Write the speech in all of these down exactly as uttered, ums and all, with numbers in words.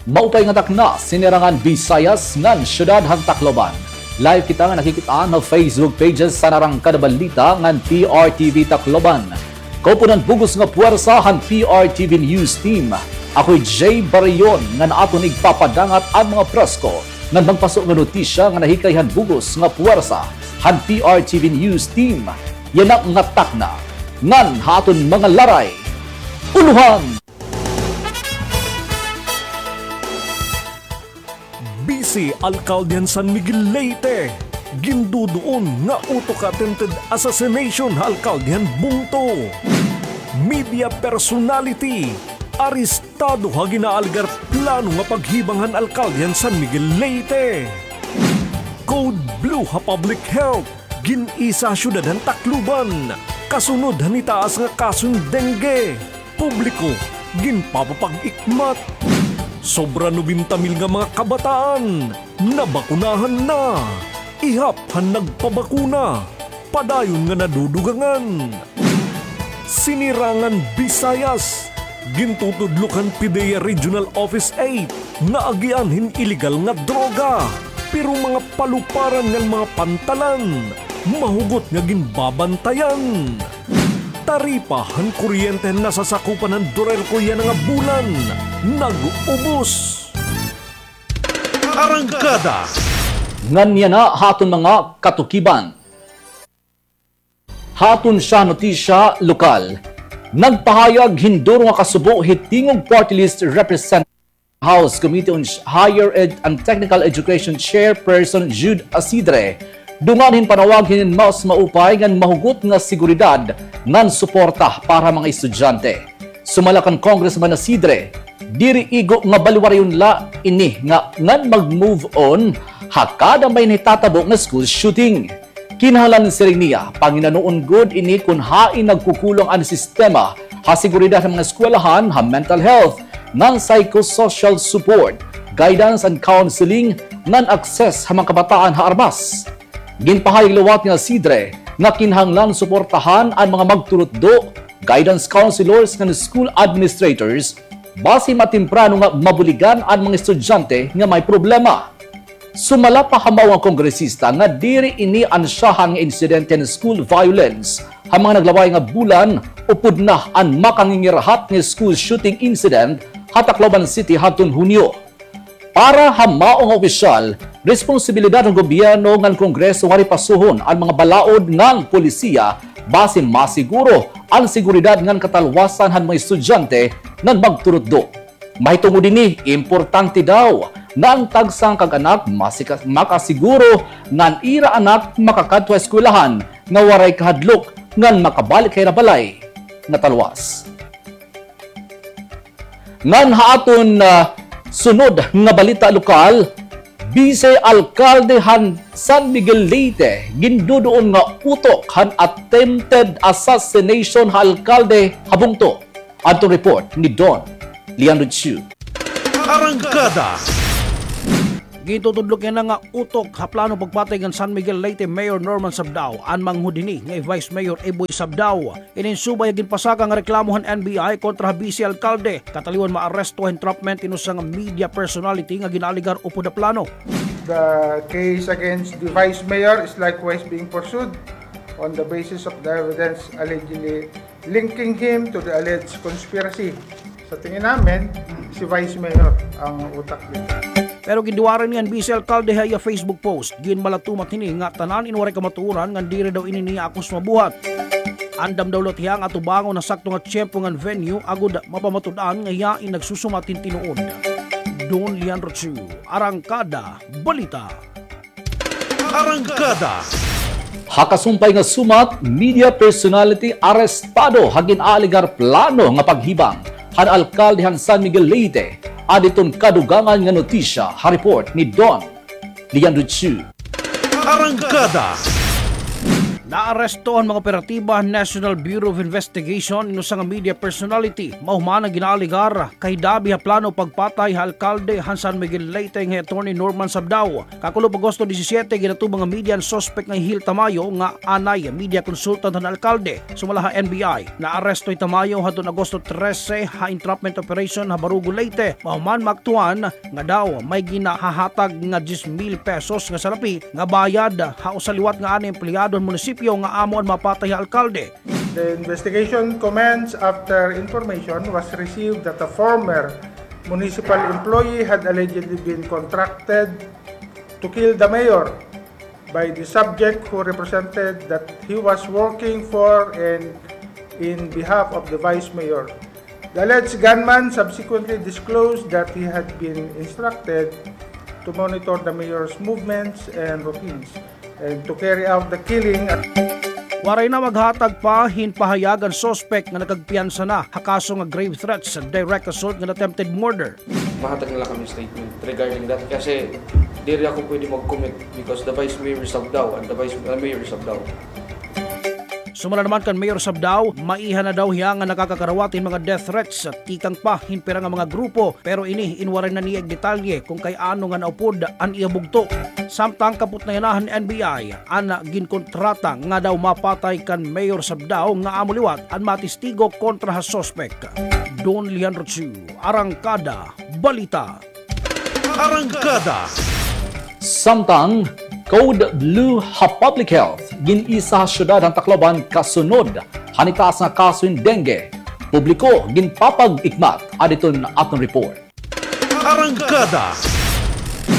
Maupay nga takna, sinirangan Visayas ngan syudad han Tacloban. Live kita nga nakikit-an ha Facebook pages han Arangkada Balita ngan P R T V Tacloban. Kaupunan bug-os nga puwersa han P R T V News Team. Ako hi Jay Barrion ngan aton igpapadangat an mga presko ngan magpaso nga notisya nga nahikay han bug-os nga puwersa han P R T V News Team. Yana nga takna ngan ha aton mga laray. Ulohan! Bise alkalde han San Miguel Leyte, ginduduon nga utok ha attempted assassination ha alkalde han bungto. Media personality, arestado ha ginaalegar plano nga paghibang han alkalde han San Miguel Leyte. Code Blue ha public health, gin-isa ha syudad han Tacloban, kasunod han itaas nga kaso hin dengue. Publiko, ginpapapag-ikmat. Sobra nobenta mil nga mga kabataan, nabakunahan na. Ihap han nagpabakuna, padayon nga nadudugangan. Sinirangan Visayas, gintutudlok han PDEA Regional Office eight nga agian hin iligal nga droga. Pero mga paluparan ngan mga pantalan, mahugot nga ginbabantayan. Taripa han kuryente han nasasakupan han DURELCO yana nga bulan, nag-ubos. Arangkada. Ngan yana ha aton mga katukiban. Ha aton sya notisya lokal, nagpahayag hin duro nga kasubo hi Tingog Party List Representative House Committee on Higher Ed and Technical Education Chairperson Jude Acidre, dungan hin panawag hinin mas maupay ngan mahugot nga seguridad ngan suporta para mga estudyante. Sumala kan Congressman Acidre, diri igo nga baliwarayon la ini nga ngan mag-move on ha kada may nahitatabo nga school shooting. Kinahanglan, siring niya, panginanoon gud ini kon hain nagkukulang an sistema ha seguridad han mga eskwelahan, ha mental health, ngan psychosocial support, guidance and counseling, ngan access ha mga kabataan ha armas. Ginpahayag liwat ni Acidre nga kinahanglan suportahan an mga magturutdo, guidance counselors ngan school administrators, basi matemprano nga mabuligan an mga estudyante nga may problema. Sumala pa ha mao nga kongresista nga diri ini an syahan nga insidente nga school violence ha mga naglabay nga bulan upod na an makangingirahat nga school shooting incident ha Tacloban City hadton Hunyo. Para ha mao nga opisyal, responsibilidad han gobyerno ngan Kongreso nga ripasuhon an mga balaod ngan polisiya basi masiguro an seguridad ngan katalwasan han mga estudyante ngan magturutdo. Mahitungod hini, importante daw nga an tagsa nga kag-anak masika-, makasiguro nga an ira anak makakadto ha eskwelahan nga waray kahadlok ngan makabalik ha ira balay nga talwas. Ngan ha aton, ah, sunod nga balita lokal, Bise Alkalde han San Miguel Leyte ginduduon nga utok han attempted assassination ha alkalde ha bungto. Adto report ni Don Leandro Chu. Arangkada. Gintutudlok yana nga utok ha plano pagpatay kan San Miguel Leyte Mayor Norman Sabdao an manghud hini nga hi Vice Mayor Eboy Sabdao. Inin subay ha ginpasaka nga reklamo han N B I kontra ha bise alkalde, kataliwan maaresto ha entrapment hin usa nga media personality nga ginaalegar upod ha plano. The case against the vice mayor is likewise being pursued on the basis of the evidence allegedly linking him to the alleged conspiracy. Sa tingin namin, si Vice Mayor ang utak dito. Pero ginduwaray niyan bise alkalde ha iya Facebook post. Ginmalatumat hini nga tanan in waray kamatuoran ngan diri daw ini niya akos mabuhat. Andam daw la hiya nga atubangon an sakto nga tiyempo ngan venue agod mapamatud-an nga hiya in nagsusumat hin tinuod. Don Leandro Chu, Arangkada Balita. Arangkada. Ha kasumpay nga sumat, media personality arestado ha gin-aalegar plano nga paghibang han alkalde han San Miguel Leyte, adton kadugangan nga notisya ha report ni Don Leandro Chu. Arangkada. Naaresto han mga operatiba han National Bureau of Investigation in usa nga media personality. Mao man an ginaalegar kahidabi ha plano pagpatay ha alkalde han San Miguel Leyte nga hi Attorney Norman Sabdao. Kakulop Agosto disisiete, ginatubang nga media an suspek nga hi Hil Tamayo nga anay media consultant han alkalde. Sumala ha N B I, naaresto hi Tamayo hadton Agosto trese ha entrapment operation ha Barugo, Leyte. Mao man maaktuhan nga daw may ginahahatag nga diyes mil pesos nga salapi nga bayad ha usa liwat nga anay empleyado han munisipyo nga amo an mapatay ha alkalde. The investigation commenced after information was received that a former municipal employee had allegedly been contracted to kill the mayor by the subject who represented that he was working for and in behalf of the vice mayor. The alleged gunman subsequently disclosed that he had been instructed to monitor the mayor's movements and routines and to carry out the killing. Waray na maghatag pa hin pahayag an suspek nga nakagpiyansa na ha kaso nga grave threats, direct assault ngan attempted murder. Mahatag na la kami statement regarding that kasi diri ako pwede mag-commit because the vice mayor is Sabdao and the vice uh, mayor is Sabdao. Sumala naman kan Mayor Sabdao, maiha na daw hiya nga nakakakarawat hin mga death threats tikang pa hin pira nga mga grupo, pero ini in waray na niya igdetalye kon kay ano nga naupod an iya bugto. Samtang kaputnayan na han N B I an ginkontrata nga daw mapatay kan Mayor Sabdao nga amo liwat an matistigo kontra ha suspek. Don Leandro Chu, Arangkada Balita. Arangkada. Samtang, Code Blue ha Public Health, gin-isa ha syudad han Tacloban kasunod han itaas nga kaso hin dengue. Publiko ginpapag-ikmat, adi iton aton report. Arangkada.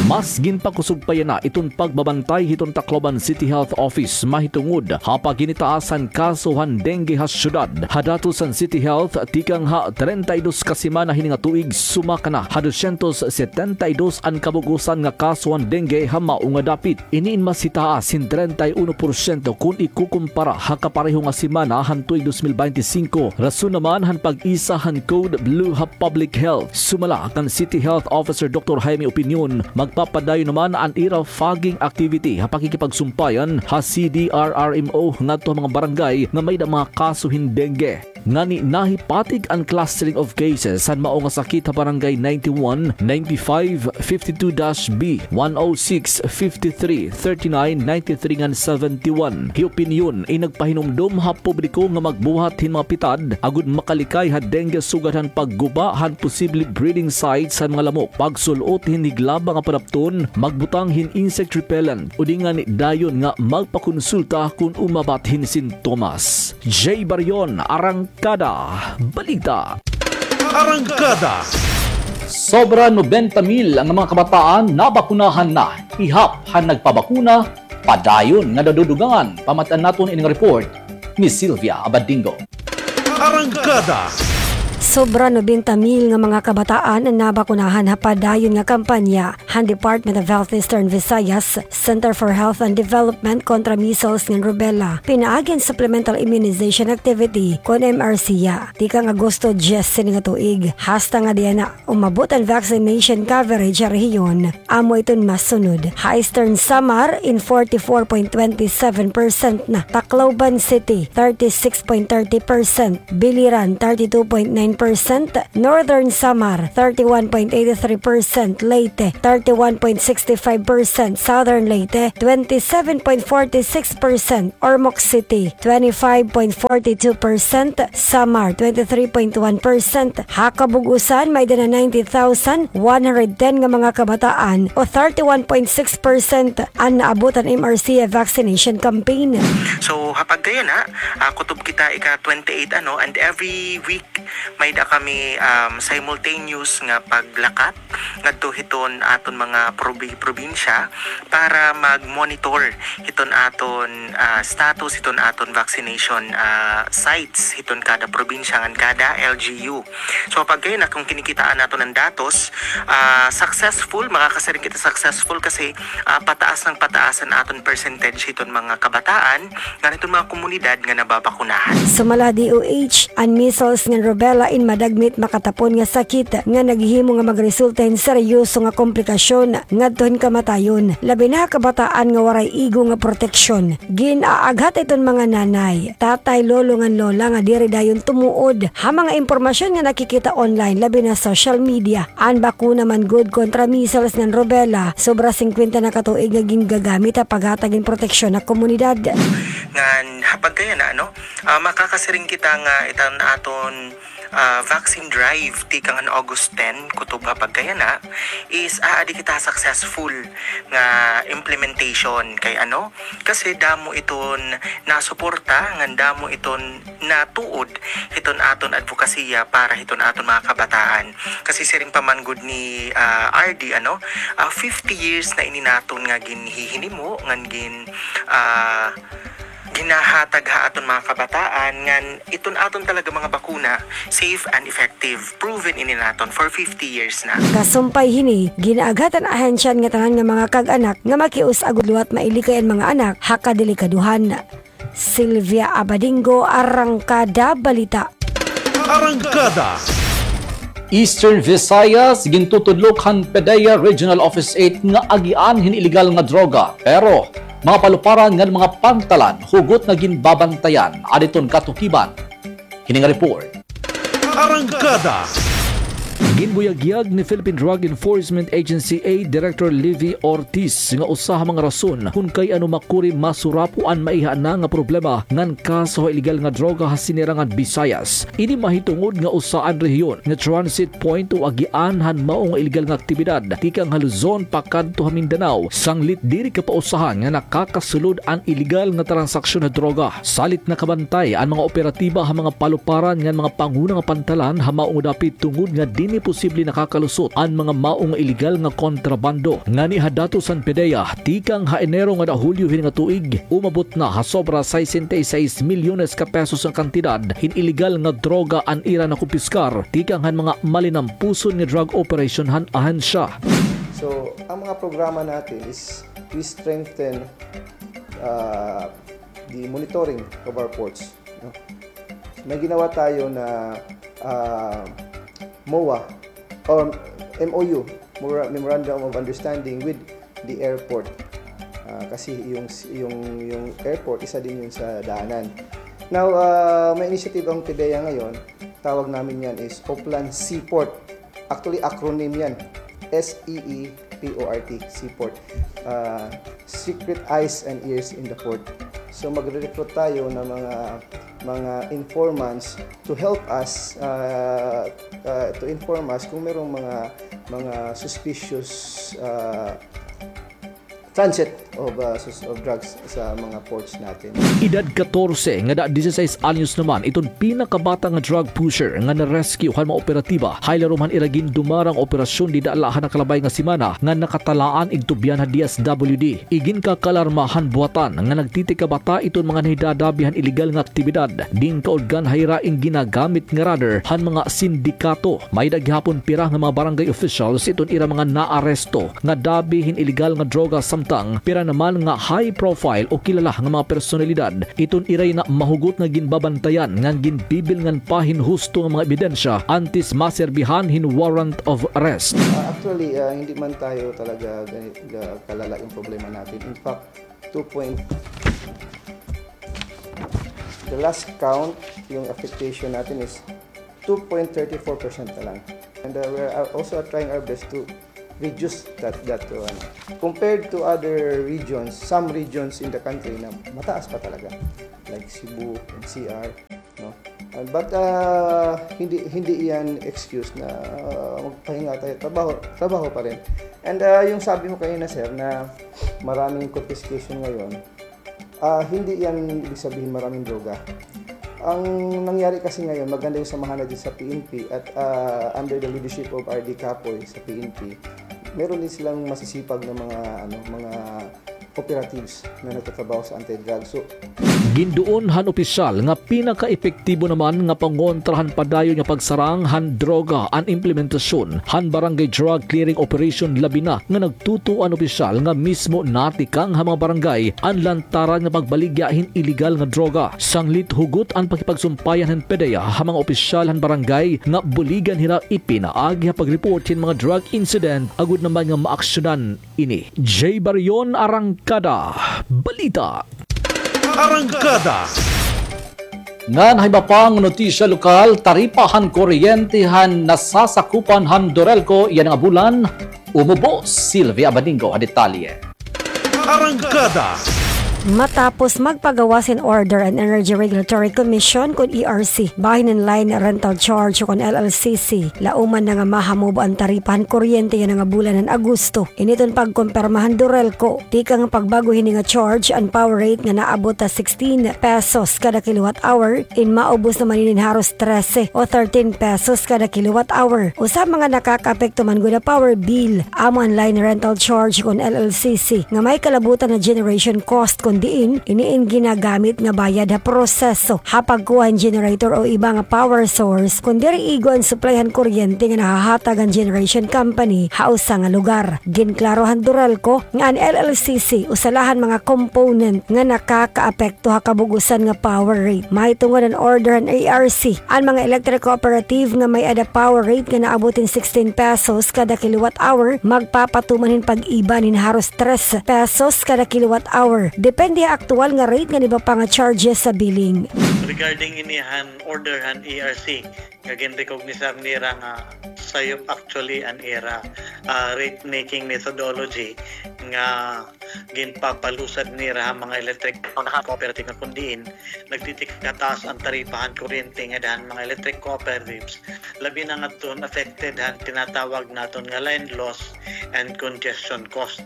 Mas ginpakusog pa yana iton pagbabantay hiton Tacloban City Health Office mahitungod ha paghinitaas han kaso han dengue ha syudad. Ha datos han City Health, tikang ha treinta y dos ka semana hini nga tuig, sumaka na ha dosyentos setenta y dos an kabug-osan nga kaso han dengue ha mao nga dapit. Ini in mas hitaas hin treinta y uno porsyento kon ikukumpara ha kapareho nga semana han tuig dos mil beinti singko. Rason naman han pag-isa han Code Blue ha Public Health. Sumala kan City Health Officer Doktor Jaime Opinion, magpapadayon naman an ira fogging activity ha pakikipagsumpayan ha C D R R M O ngadto ha mga barangay nga may-ada mga kaso hin dengue. Ngani nahipatig an clustering of cases han mao nga sakit ha barangay ninety-one, ninety-five, fifty-two dash B, one oh six, fifty-three, thirty-nine, ninety-three ngan seventy-one. Hi Opinion in nagpahinumdom ha publiko nga magbuhat hin mga pitad agod makalikay ha dengue sugad han pagguba han posible breeding sites han mga lamok, pagsul-ot hin higlaba nga padapton, magbutang hin insect repellent, udi ngani dayon nga magpakonsulta kon umabat hin sintomas. Jay Barion, Arangkada Balita. Arangkada. Sobra nobenta mil nga mga kabataan nabakunahan na, ihap han nagpabakuna padayon nga nadudugangan. Pamatian naton ining report ni Sylvia Abadingo. Arangkada. Sobra nobenta mil nga mga kabataan an nabakunahan ha padayon nga kampanya han Department of Health Eastern Visayas, Center for Health and Development kontra measles ngan rubella pinaagi han supplemental immunization activity kon M R C A tikang Agosto dyes hini nga tuig, hasta nga diyan na umabot an vaccination coverage ha rehiyon. Amo iton masunod. Ha Eastern Samar in forty-four point twenty-seven percent na, Tacloban City thirty-six point thirty percent, Biliran thirty-two point nine percent, Northern Samar thirty-one point eighty-three percent, Leyte thirty-one point sixty-five percent, Southern Leyte twenty-seven point forty-six percent, Ormoc City twenty-five point forty-two percent, Samar twenty-three point one percent. Ha kabug-osan, may-ada na ninety thousand one hundred ten nga mga kabataan o thirty-one point six percent an naabot an M R C A vaccination campaign. So, ha pagkayana, ah, kutob kita ika twenty-eight, ano, and every week may-ada kami, um, simultaneous nga paglakat ngadto hiton aton mga probi-, probinsya para mag-monitor hiton aton, ah, status hiton aton vaccination, ah, sites hiton kada probinsya ngan kada L G U. So, pagkayana, kon kinikitaan naton an datos, ah, successful, makakasiring kita successful kasi, ah, pataas ngan pataas an aton percentage hiton mga kabataan ngan hiton mga komunidad nga nababakunahan. Sumala ha D O H, an measles ngan rubella madagmit makatapon nga sakit nga naghihimo nga magresulta hin seryoso nga komplikasyon ngadto hin kamatayon, labi na ha kabataan nga waray igo nga proteksyon. Gin-aaghat iton mga nanay, tatay, lolo ngan lola nga diri dayon tumuod ha mga impormasyon nga nakikita online, labi na social media. An bakuna man gud kontra measles ngan rubella, sobra singkwenta na ka tuig nga gingagamit ha paghatag hin proteksyon ha komunidad. Ngan ha pagkayana, ano, ah, makakasiring kita nga iton aton, ah, vaccine drive tikang han August ten kutob ha pagkayana is aadi kita successful nga implementation kay ano, kasi damo iton nasuporta ngan damo iton natuod hiton aton advokasya para hiton aton mga kabataan. Kasi siring pa man gud ni, ah, R D, ano, ah, fifty years na ini naton nga ginhihinimo ngan gin, ah, ginahatag ha aton mga kabataan ngan iton aton talaga mga bakuna safe and effective, proven ini naton for fifty years na. Kasumpay hini, gin-aaghat han ahensya an ngatanan nga mga kag-anak nga makius-a gud liwat mailikay an mga anak ha kadelikadohan. Sylvia Abadingo, Arangkada Balita. Arangkada. Eastern Visayas, gintutudlok han PDEA Regional Office eight nga agian hin iligal nga droga. Pero, mga paluparan ngan mga pantalan, hugot nga ginbabantayan, adton katukiban. Hini nga report. Arangkada. Ginbuyagyag ni Philippine Drug Enforcement Agency eight Director Livy Ortiz nga usa ha mga rason kon kay ano makuri masurapo an maiha na nga problema ngan kaso ha iligal nga droga ha Sinirangan Visayas. Ini mahitungod nga usa an rehiyon nga transit point o agian han mao nga iligal nga aktibidad tikang ha Luzon pakadto ha Mindanao, sanglit diri kapausahan nga nakakasulod an iligal nga transaksyon ha droga. Salit nakabantay an mga operatiba ha mga paluparan ngan mga panguna nga pantalan ha mao nga dapit tungod nga diri posible nakakalusot an mga mao nga iligal nga kontrabando. Ngani ha datos han PDEA, tikang ha Enero ngada Hulyo hini nga tuig, umabot na ha sobra sesenta y seis milyones ka pesos nga kantidad hin iligal nga droga an ira nakumpiskar tikang han mga malinampuson nga drug operation han ahensya. So, ang mga programa natin is we strengthen, uh, the monitoring of our ports, no? May ginawa tayo na, ah, MOA or M O U, Mora-, Memorandum of Understanding with the airport. Ah, kasi yung, yung, yung airport, isa din yun sa daanan. Now, ah, may initiative ang PDEA ngayon, tawag namin yan is Oplan Seaport. Actually, acronym yan. S E E P O R T, Seaport. Ah, Secret Eyes and Ears in the Port. So, magre-recruit tayo ng mga, mga informants to help us, ah, ah, to inform us kung merong mga, mga suspicious, ah, transit of, ah, sus-, of drugs sa mga ports natin. Edad katorse ngada disisais anyos naman iton pinakabata nga drug pusher nga na-rescue han mga operatiba ha ilarom han ira gindumarang operasyon dida la ha nakalabay nga semana nga nakatalaan igtubyan ha D S W D. Iginkakaalarma han buhatan nga nagtitikabata iton mga nahidadabi han iligal nga aktibidad, ginkaudgan ha ira in ginagamit nga radar han mga sindikato. May-ada gihapon pira nga mga barangay officials iton ira mga naaresto nga dabi hin iligal nga droga, samtang pira naman nga high profile o kilala nga mga personalidad iton iray na mahugot nga ginbabantayan ngan ginbibilngan pa hin husto nga mga ebidensya antes maserbihan hin warrant of arrest. Ah, actually, ah, hindi man tayo talaga gani-, ga-, kalala yung problema natin. In fact, two point, the last count, yung affectation natin is two point thirty four percent na lang. And, uh, we're, uh, also trying our best to reduce that, that to, ano. Compared to other regions, some regions in the country na mataas pa talaga, like Cebu, N C R, no? Uh, but, uh, hindi, hindi yan excuse na, uh, magpahinga tayo. Trabaho, trabaho pa rin. And, uh, yung sabi mo kanina, sir, na maraming confiscation ngayon, Ah, hindi yan ibig sabihin maraming droga. Ang nangyari kasi ngayon, maganda yung samahan natin sa P N P at, ah, under the leadership of R D Kapoy sa P N P, meron din silang masisipag na mga, ano, mga operatives na nagtatrabaho sa anti-drug. So, Ginduon han opisyal nga pinakaepektibo naman nga pangontra han padayon nga pagsarang han droga an implementasyon han Barangay Drug Clearing Operation, labi na nga nagtutuo an opisyal nga mismo natikang ha mga barangay an lantaran nga pagbaligya hin iligal nga droga. Sanglit hugot an pakipagsumpayan han PDEA ha mga opisyal han barangay nga buligan hira ipinaagi ha pag-report hin mga drug incident agod naman nga maaksyonan ini. Jay Barion, Arangkada Balita. Arangkada. Ngan ha iba pang notisya lokal, taripa han kuryente han nasasakupan han Durelco yana nga bulan umubos. Sylvia Abadingo ha detalye. Arangkada. Matapos magpagawas hin order an Energy Regulatory Commission kun E R C bahin han line rental charge kun L L C C, lauman na nga mahamubo an taripa han kuryente yana nga bulan han Agosto. Ini iton pagkumpirma han Durelco. Tikang pagbago hini nga charge, an power rate nga naabot ha sixteen pesos kada kilowatt hour, in maubos naman ini hin haros trese o thirteen pesos kada kilowatt hour. Usa ha mga nakakaapekto man gud ha power bill, amo an line rental charge kun L L C C, nga may kalabutan nga generation cost kun diin ini in ginagamit nga bayad ha proseso ha pagkuha hin generator o iba nga power source kun diri igo an supply han kuryente nga nahahatag han generation company ha usa nga lugar. Ginklaro han Durelco nga an L L C C usa la han mga component nga nakakaapekto ha kabug-osan nga power rate. Mahitungod han order han E R C, an mga electric cooperative nga may-ada power rate nga naabot hin sixteen pesos kada kilowatt hour magpapatuman hin pag-iban hin haros tres pesos kada kilowatt hour, depende ha aktuwal nga rate ngan iba pa nga charges sa billing. Regarding ini han order han E R C, nga ginrecognisar nira nga sayop actually an ira, ah, rate making methodology nga ginpapalusad nira ha mga electric cooperative nga kun diin nagtitikataas an taripa han kuryente nga dida han mga electric cooperatives, labi na ngadton affected han tinatawag naton nga line loss and congestion cost.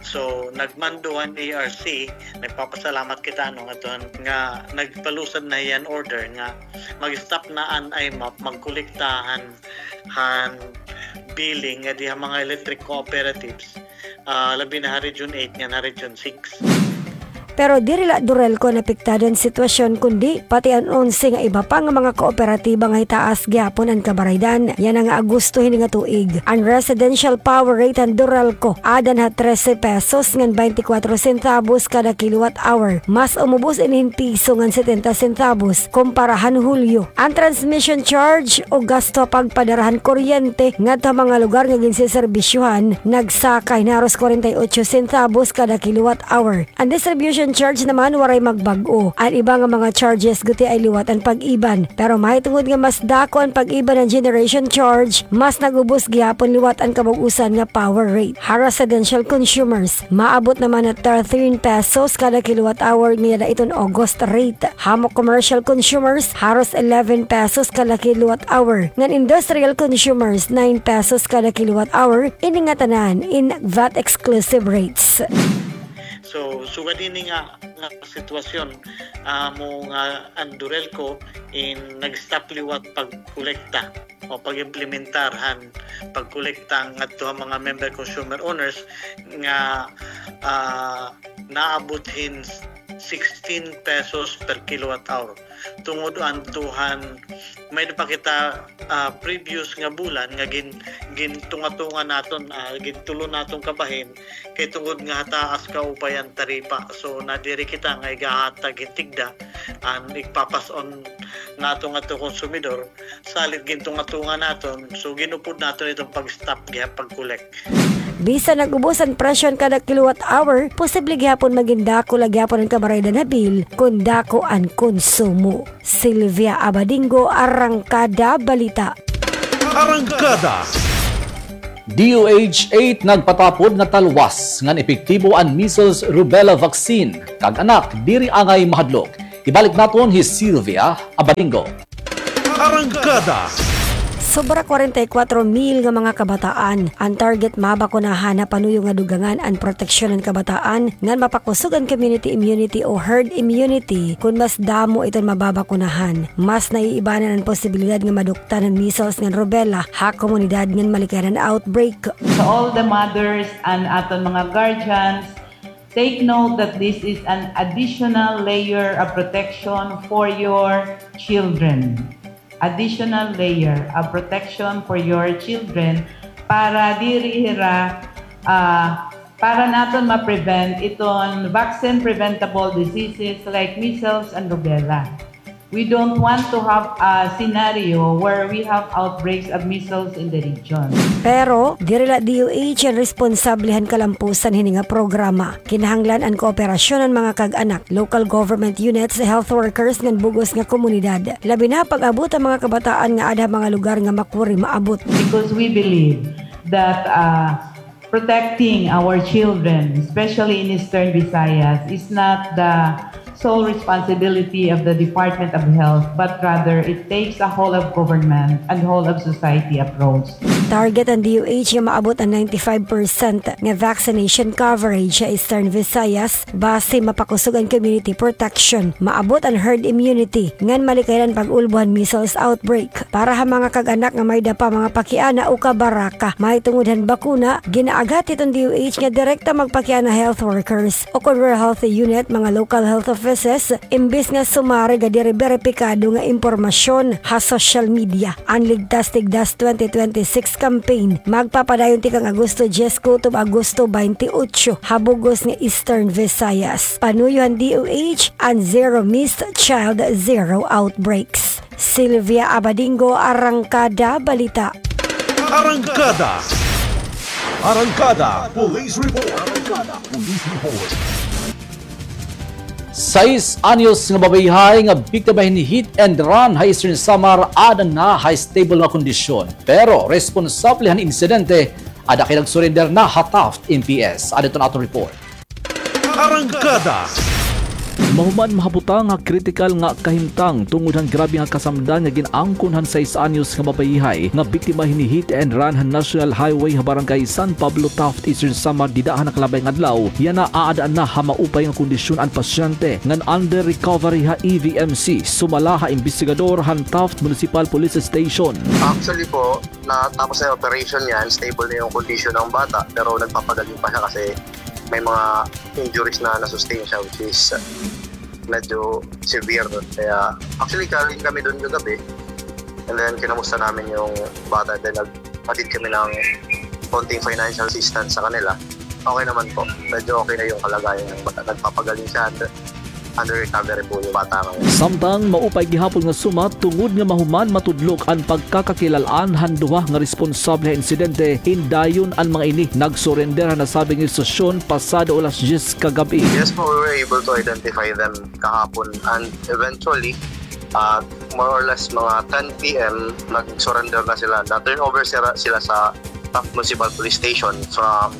So, nagmando an E R C, nagpapasalamat kita, no, ngadton nga nagpalusad na hiya hin order nga mag-stop na an I M A P magkolekta han, han billing ngadi ha mga electric cooperatives, ah, labi na ha Region eight ngan ha Region six. Pero diri la Durelco an apektado han sitwasyon, kundi pati an onse nga iba pa nga mga kooperatiba nga hitaas gihapon an kabaraydan yana nga Agosto hini nga tuig. An residential power rate han Durelco adan ha trese pesos ngan baynte kwatro sentabos kada kilowatt hour. Mas umubos ini hin piso ngan setenta sentabos kumpara han Hulyo. An transmission charge o gasto ha pagpadara han kuryente ngadto ha mga lugar nga ginseserbisyohan nagsaka hin haros kwarenta y otso sentabos kada kilowatt hour. An distribution charge naman waray magbag-o. An iba nga mga charges gutiay liwat an pag-iban. Pero mahitungod nga mas dako an pag-iban han generation charge, mas nag-ubos gihapon liwat an kabug-osan nga power rate. Ha residential consumers, maabot naman ha thirteen pesos kada kilowatt hour nga yada iton August rate. Ha mga commercial consumers, haros eleven pesos kada kilowatt hour. Ngan industrial consumers, nine pesos kada kilowatt hour. Ini ngatanan in V A T exclusive rates. So, sugad ini nga, nga sitwasyon, amo nga an Durelco in nag-stop liwat pagkolekta o pag-implementar han pagkolekta ngadto ha mga member consumer owners nga, ah, naabot hin sixteen pesos per kilowatt hour. Tungod adto han may-ada pa kita, ah, previous nga bulan nga gin-, gintunga-tunga naton, ah, gintulon naton kabahin kay tungod nga hataas kaupay an taripa. So, nadiri kita nga igahatag hin tigda an igpapas-on naton ngadto konsumidor, salit gintunga-tunga naton. So, gin-upod naton iton pag-stop gihap pag-collect. Bisan nag-ubos an presyo han kada kilowatt hour, posible gihapon magin dako la gihapon an kabaraydan ha bill kon dako an konsumo. Sylvia Abadingo, Arangkada Balita. Arangkada. D O H eight nagpatapod nga talwas ngan epektibo an measles rubella vaccine, kag anak diri angay mahadlok. Ibalik naton hi Sylvia Abadingo. Arangkada. Sobra kwarenta y kwatro mil nga mga kabataan an target mabakunahan ha panuyo nga dugangan an proteksyon han kabataan ngan mapakusog an community immunity o herd immunity kon mas damo iton mababakunahan. Mas naiibanan an posibilidad nga maduktan han measles ngan rubella ha komunidad ngan malikayan an outbreak. To all the mothers and aton mga guardians, take note that this is an additional layer of protection for your children. Additional layer of protection for your children para diri hira, ah, para naton ma-prevent iton vaccine preventable diseases like measles and rubella. We don't want to have a scenario where we have outbreaks of measles in the region. Pero diri la D O H an responsable han kalampusan hini nga programa. Kinahanglan an kooperasyon han mga kag-anak, local government units, health workers ngan bug-os nga komunidad. Labi na pag-abot han mga kabataan nga aada ha mga lugar nga makuri maabot. Because we believe that, uh, protecting our children, especially in Eastern Visayas, is not the sole responsibility of the Department of Health, but rather it takes a whole of government and whole of society approach. Target han D O H nga maabot an ninety-five percent nga vaccination coverage ha Eastern Visayas basi mapakusog an community protection, maabot an herd immunity, ngan malikayan an pag-ulbo han measles outbreak. Para ha mga kag-anak nga may-ada pa mga pakiana o kabaraka mahitungod han bakuna, ginaaghat hiton D O H nga direkta magpakiana ha health workers o kon Rural Health Unit, mga local health offices, imbis nga sumari nga diri beripikado nga impormasyon ha social media. An Ligtas Tigdas twenty twenty-six campaign magpapadayon tikang Agosto dyes kutob Agosto baynte otso ha bug-os nga Eastern Visayas. Panuyo han D O H an Zero Missed Child, Zero Outbreaks. Sylvia Abadingo, Arangkada Balita. Arangkada. Arangkada Police Report. Arangkada Police Report. Sais anyos nga babayhay nga biktima hin hit and run ha Eastern Samar aada na ha stable nga kondisyon. Pero responsable han insidente, aada kay nagsurrender na ha Taft M P S. Aada iton aton report. Arangkada. Mahuman mahabutang ha kritikal nga kahimtang tungod han grabe nga kasamdan nga gin-angkon han sais anyos nga babayhay nga biktima hini hit and run han National Highway ha Barangay San Pablo, Taft, Eastern Samar dida ha nakalabay nga adlaw. Yana aada na ha maupay nga kondisyon an pasyente ngan under recovery ha E V M C sumala ha imbestigador han Taft Municipal Police Station. Actually po, natapos na yung operation niya, stable na yung condition ng bata, pero nagpapagaling pa siya kasi may mga injuries na na-sustain siya, which is, uh, medyo severe. Kaya, actually, galing kami doon kagabi. And then, kinamusta namin yung bata. Then, nagpatid kami ng konting financial assistance sa kanila. Okay naman po. Medyo okay na yung kalagayan ng bata. Nagpapagaling siya. Under recovery po yung bata ngayon. Samtang maupay gihapon nga sumat tungod nga mahuman matudlok an pagkakakilal-an han duha nga responsable ha insidente, hin dayon an mga ini nagsurrender ha nasabing istasyon pasado alas dyes kagab-i. Yes po, we were able to identify them kahapon and eventually, ah, more or less mga ten P M, nag-surrender na sila. Na-turn over sila, sila sa Taft Municipal Police Station from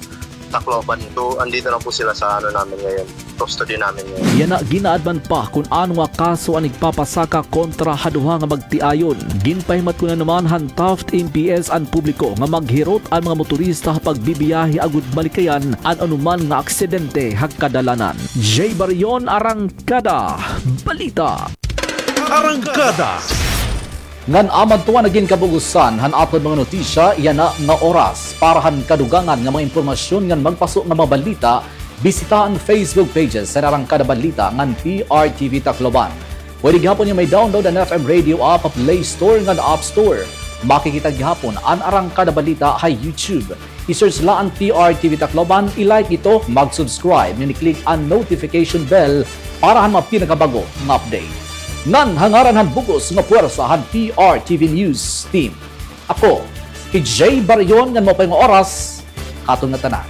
Tacloban. So, andito na po sila sa ano namin ngayon, custody namin ngayon. Yana, gin-a-adman pa kon ano nga kaso an igpapasaka kontra ha duha nga magtiayon. Ginpahimatngon na naman han Taft M P S an publiko nga maghirot an mga motorista ha pagbibiyahe agod malikayan an anuman nga aksidente ha kadalanan. Jay Barion, Arangkada Balita. Arangkada. Ngan amo adto an nagin kabug-osan han aton mga notisya yana nga oras. Para han kadugangan nga mga impormasyon ngan magpaso nga mga balita, bisita an Facebook pages han Arangkada Balita ngan P R T V Tacloban. Pwede gihapon niyo may-download an F M Radio app ha Play Store ngan App Store. Makikita gihapon an Arangkada Balita ha YouTube. I-search la an P R T V Tacloban, i-like ito, mag-subscribe, ngan i-click an notification bell para han mga pinakabag-o nga update. Ngan ha ngaran han bug-os nga puwersa han P R T V News Team, ako hi Jay Barion ngan maupay nga oras katon ngatanan.